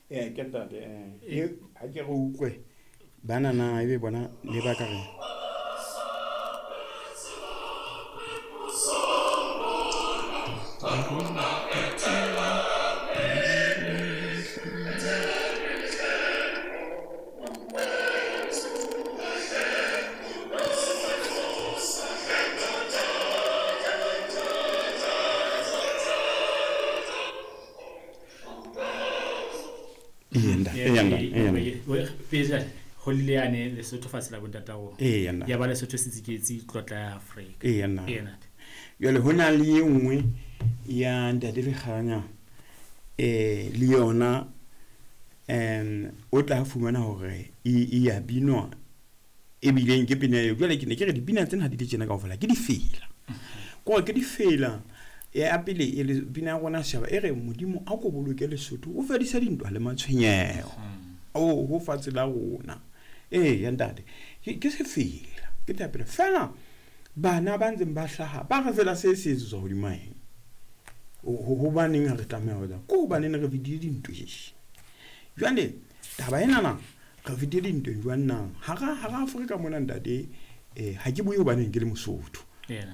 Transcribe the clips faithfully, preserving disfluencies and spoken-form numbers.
Ee, ke ntate eh ha ke re utlwe bana na ebe bona le ba ka re. Pele Lesotho fatshe la bontata rona. Ya ba Lesotho se tsiketse tlotla ya Afrika. Ee nna. Jwale ho na le e nngwe ya ntate Lekganya eh le yona um o tla fumana hore e ya binwa ebileng ke pina eo. Jwale ke ne ke re dipina tsena ha di le tjena kaofela ke difela. Ko ke difela ya pele e le pina ya rona setjhaba e re Modimo a ko boloke Lesotho o fedise dintwa le matshwenyeho. O ho fatshe la rona. Ee ya ntate ke sefela ke thapelo fela bana ba ntseng ba hlaha ba re fela se se etsetswa hodima eng. Hobaneng ha re tlameha ho etsa ko hobaneng re fetile dintweng. Jwale taba enana re fetile dintweng jwang na hara hara Afrika mona ntate eh ha ke bue hobaneng ke le Mosotho.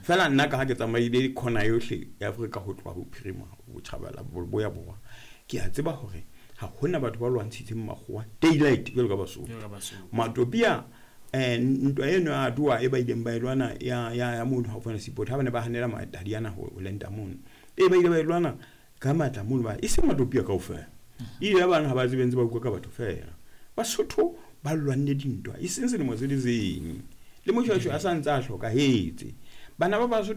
Fela nna ka ha ke tsamaile khona yohle ya Afrika ho tloha bophirima botjhabela bo ya borwa ke a tseba hore ha hona batho ba lwantshitseng makgowa daylight jwalo ka Basotho. Matopia eh ntwa eno ya Adowa e ba ileng ba e lwana ya ya ya mono haufi le seaport ha bane ba hanela Mataliana ho lenda mono e ba ile ba e lwana ka matla mono ba e seng Matopia kaofela ile ya bana ha ba tsebe ntse ba bua ka batho fela Basotho ba lwanne dintwa e seng selemo se le seng le Moshoeshoe a sa ntse a hlokahetse bana ba Basotho.